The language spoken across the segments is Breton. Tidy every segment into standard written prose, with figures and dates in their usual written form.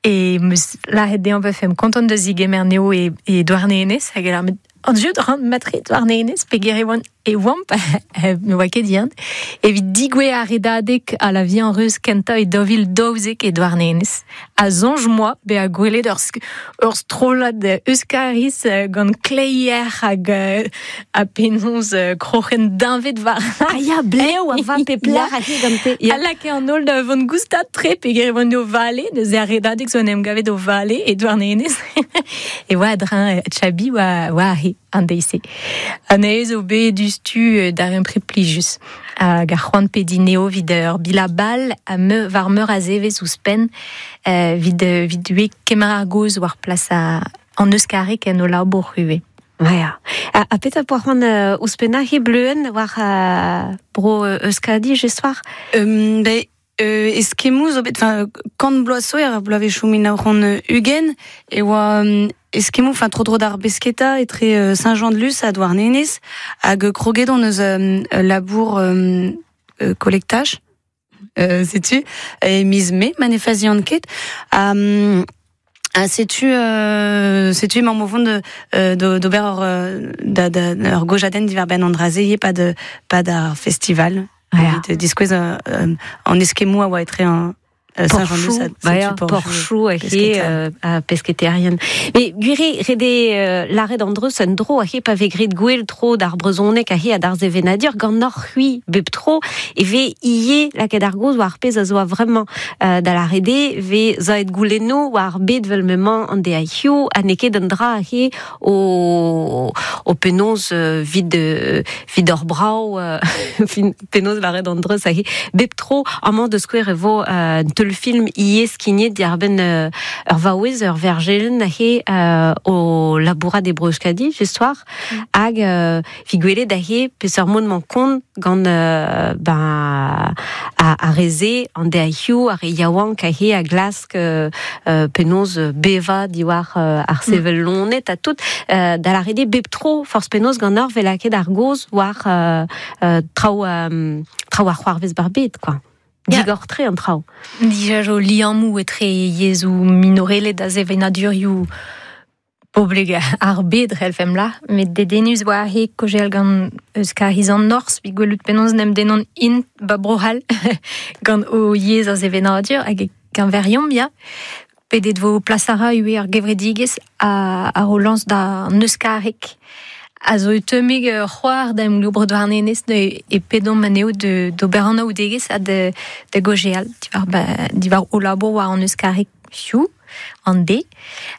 E meus lâret dezhañ 'vefemp kontant da zigemer anezho e, e Douarnenez hag e lâr met an jeu ran matre Douarnenez peger e oan e oamp ne oa ket yann evit digouezh ar redadeg a la vie en ruz kentañ e 2012 e Douarnenez a soñj moa bezañ gwelet ur, ur strollad Euskariz gant kleier hag ha penaos kroc'hen deñved war Ah ya, blev a va pep lec'h a he gante. Ya. A lakae an holl da vont goustad tre peger e oant o vale, neuze ar redadeg zo en em gavet o vale e Douarnenez. e oa a-dreñv Chabi oa, oa aze an deiz-se. Anezhe zo bet diouzhtu darempred plijus. Hag ar c'hoant pediñ eo evit ur bilabal ha meur, war meur a zevezh ouzhpenn evit, evit ivez kemer ar gaoz war plas an euskareg en o labour ivez. Ya. Ha petra poa c'hoant ouzhpennañ he bleuenn war bro Euskadi just war? Ben, eskemmoù zo bet, enfin, kant bloaz zo, er bloavezhioù 1920, e oa eskemmoù, enfin, tro-dro d'ar besketa etre Saint-Jean-de-Luz ha Douarnenez, hag kroget on eus labour collectage, setu, e miz Mae, ma ne fazian ket. Ha setu setu emaomp o vont d'ober ur da, da, ur gojadenn diwar-benn an dra-se ivez pad pad ar festival. Evit diskouez an eskemmoù a oa etre an Saint-Jean-de-Luz ha Porchou he ha pesketerien. Mais gwir eo ret eo lâret an dreuz un dro he pa vez graet gwell tro d'ar brezhoneg he ha d'ar sevenadur ganeoc'h c'hwi bep tro e vez ivez lakaet ar gaoz war ar pezh a zo a-vremañ da lâret eo vez savet goulennoù war ar bed 'vel m'emañ an deiz-hiziv ha n'eo ket un dra he o o penaos 'vit 'vit hor brav penaos lâret an dreuz aze bep tro amañ da skouer e vo un teulfilm ivez skignet diàr-benn ur vaouez ur verjelenn aze o labourat e Bro-Euskadi just war hag evit gwelet aze peseurt mod 'mañ kont gant ben ar re-se an deiz-hiziv ar re yaouank aze a glask penaos bevañ diwar ar sevel loened ha tout da lâret eo bep tro forzh penaos ganeoc'h 'vez lakaet ar gaoz war traoù traoù a c'hoarvez 'bar bed quoi. Digor-tre an traoù. Dija zo liammoù etre yezhoù minorelet ha sevenadurioù poblek ar bed c'hellfemp lâr, met dedennus oa he kaozeal gant Euskariz an Norzh evit gwelout penaos en em dennont int ba Bro-C'hall gant o yezh ar sevenadur hag e keñveriomp ya. Pedet vo plas a ra ivez ar gevredigezh a ro lañs d'an euskareg a zo teummig c'hoar da emglev Bro Douarnenez e pedomp anezho d'ober anaoudegezh ha da gaozeal diwar o labour war an euskareg hiziv an de.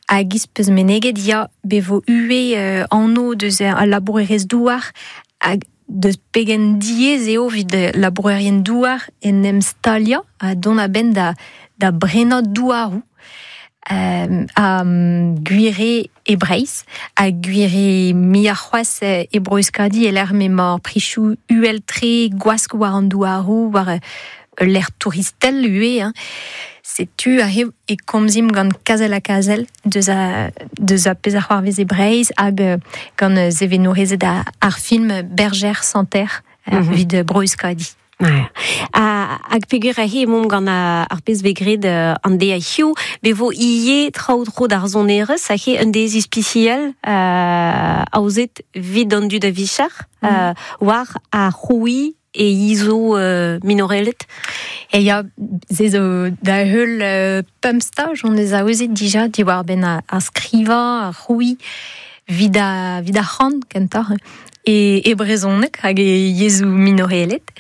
Hag iz peus meneget ya be vo ivez anv deus al labourerezh-douar hag deus pegen diaes eo evit labourerien-douar en em staliañ ha dont a-benn da da brenañ douaroù ha gwir eo e Breizh ha gwir eo muioc'h c'hoazh e Bro-Euskadi e-lec'h m'emañ ar prizioù uhel-tre gwask war an douaroù war ul lec'h touristel ivez hein. Setu aze e komzimp gant Kazel ha Kazel deus a deus a pezh a c'hoarvez e Breizh hag gant sevenourezed ar film Bergère sans terre evit Bro-Euskadi. Hag peogwir aze emaomp gant ar pezh vez graet an deiz hiziv, be vo ivez traoù tro d'ar sonerezh, aze un deiz ispisial aozet evit an dud a-vicher war ar c'hrouiñ e yezhoù minorelet. E ya, se zo da heul pemp staj hon eus aozet dija diwar-benn ar skrivañ, ar c'hrouiñ, evit ar c'han kentoc'h. E, e brezhoneg hag e yezhoù minorelet.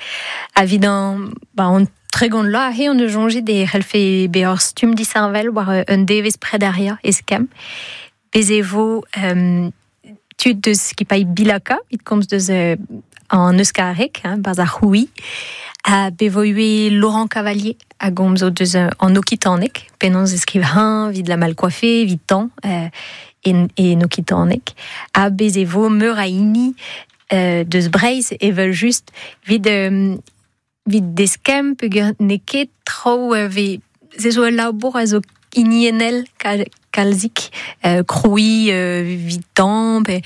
Ha evit an, ba, an 30 vloaz aze hon eus soñjet e c'hellfe bezañ ur stumm disheñvel war un devezh prederiañ eskemm. Bez' e vo tud deus skipailh Bilaka evit komz deus an euskareg, hein, barzh ar c'hrouiñ. Ha be vo ivez Laurent Cavalier a gomzo deus an okitaneg, penaos e skriv-eñ evit la mal coiffée, evit tañ en, en okitaneg. Ha bez' e vo meur a hini deus Breizh evel-just evit evit deskemm peogwir n'eo ket traoù vez se zo ul labour a zo hiniennel kalzik krouiñ evit tañ pe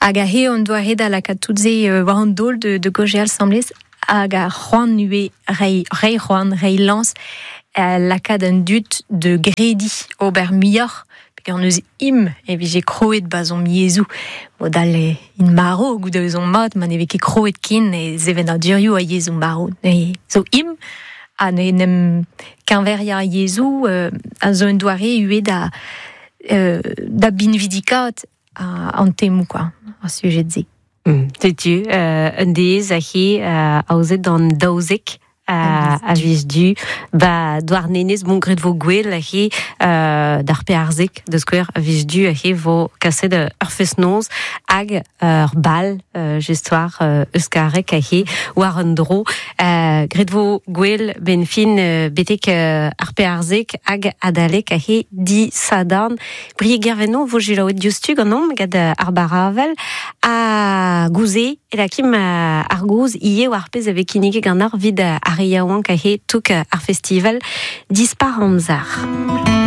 hag aze on doare da lakaat tout se war an daol de gaozeal asambles hag ar c'hoant ivez reiñ reiñ c'hoant reiñ lañs. Lakaat an dud de gredi ober muioc'h peogwir neus im e vije kroet bazom yezhoù modal in maro goude eus on mat ma ne vez ket kroet ken e sevenadurioù a yezhoù maro ne zo im ha ne nem keñveriañ yezhoù a zo un doare ivez da da binvidikaat an temoù quoi ar sujed-se. Setu un deiz aze aozet an 12 a viz du ba Douarnenez bon graet vo gwell aze d'ar pearzek da skouer a viz du aze vo kaset ur fest-noz hag ur bal just war euskarek aze war un dro graet vo gwell ben fin betek ar pearzek hag adalek aze di Sadorn. Brieg Guerveno vo selaouet diouzhtu ganeomp gant ar Baravel ha gouze e lakim ar gouz ivez war pezh a vez kinniget ganeoc'h evit ar re yaouank aze touk ar festival Dispar Amzer.